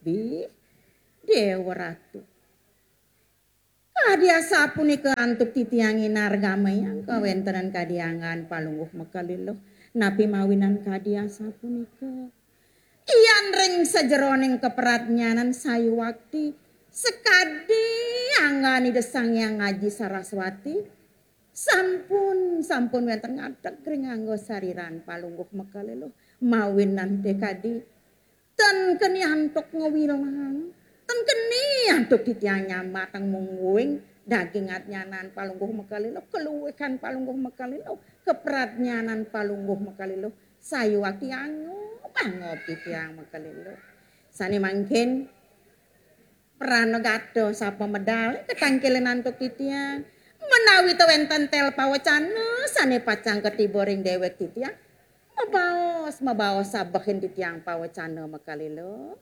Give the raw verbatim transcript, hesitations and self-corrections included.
Bi, Dewa Ratu. Kadi asapunika antuk titiang inargamayang kawéntenan kadi anggan Palungguh Mekaliluh. Napi mawinan kadi asapunika? Yan ring sajeroning kapradnyanan sayuwakti sakadi anggan Ida Sang Hyang Aji Saraswati sampun, sampun wénten ngadeg ring angga sariran Palungguh Mekaliluh. Mawinan té kadi ten keni antuk ngawilang, ten keni antuk titiang nyambatang mungguing daging adnyanan Palungguh Mekaliluh, kaluihan Palungguh Mekaliluh, kapradnyanan Palungguh Mekaliluh, sayuwakti angob-angob titiang Mekaliluh. Sané mangkin pranagata sapa medal katangkilin antuk titiang, menawi ta wénten tel pawecana sané pacang katiba ring déwék titiang, mabaos, mabaos sabehin titiang pawecana Mekaliluh.